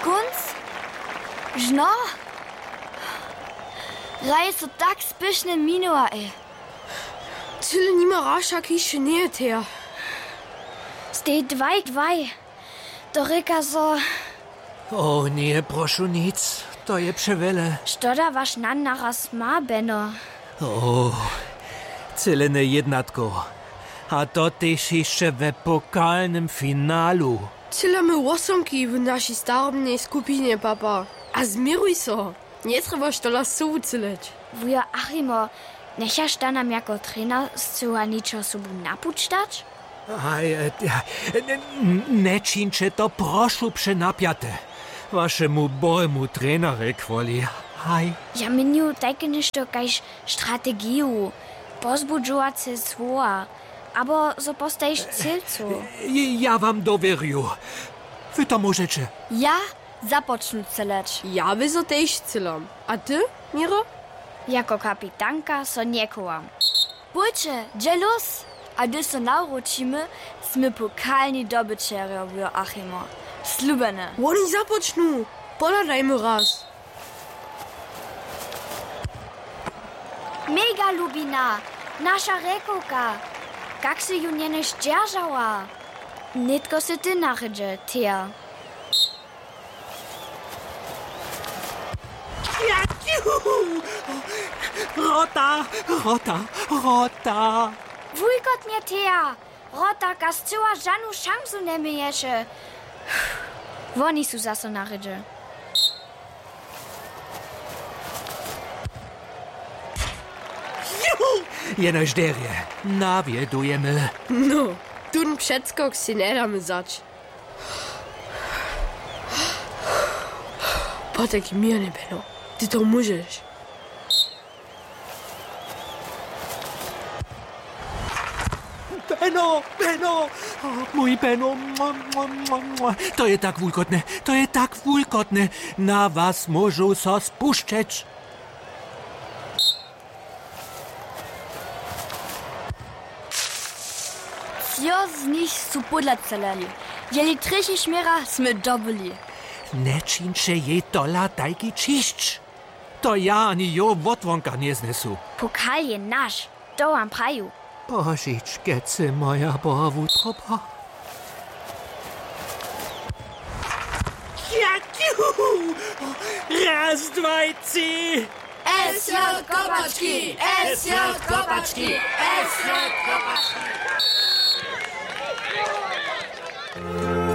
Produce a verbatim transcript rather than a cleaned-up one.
Kónc? Žno? Hraj so tak spěšnje minuła, ej. Cyle nima rašak hišće njeje, Thea. Stej dwaj dwaj. To rěka so. O, njeprošu nic, to je přewjele. Što da waš nan naraz ma, Beno? O, celene jednatko. A to tež hišće we pokalnym finalu. Cyle my wosomki w našej starobnej skupinje, papa. A změruj so. Njetrjebaš tola sobu cyleć. Wujo Achimo, njechaš da nam jako trener scyła ničo sobu napuć dać? Haj, e, e, n-, n-, nječińće to, prošu, přenapjate. Wašemu bohemu trenerjej kwoli. Haj. Ja měnju tajke něšto kaž strategiju, pozbudźowace słowa, abo zo postajiš cylcu. J-, ja wam dowěrju. Wy to móžeće. Ja započnu cyleć. Ja by so tež cylom. A ty, Miro? Jako kapitanka so njechowam. Pójće, dźe lós! A hdyž so nawróćimy, smy pokalni dobyćerjo, wujo Achimo. Slubjene. Woni započnu! Pohladajmy raz. Mega Lubina, naša rjekowka! Kak sy ju njenož dźeržała? Nětko sy ty na rědźe, Thea. Rota, rota, rota. Wulkotnje, Thea! Rotarka scyła žanu šansu njeměješe. Woni su zaso na rědźe. Juhu! Jenož derje, nawjedujemy. No, tón předskok sej njedamy wzać. Potajki měrnje, Beno, ty to móžeš. Beno, Beno, o, mój Beno, mua, mua, mua, mua. To je tak wulkotne, to je tak wulkotne. Na was móžu so spušćeć. Třo z nich su pódla celeli. Jeli třeći šměra smy dobyli. Nječińće jej tola tajki ćišć. To ja ani jo wotwonka njeznesu. Pokal je naš, to wam praju. Požičkece, moja boha wutroba. Raz, dwaj, tři. S J Kopački! S J Kopački! S J Kopački!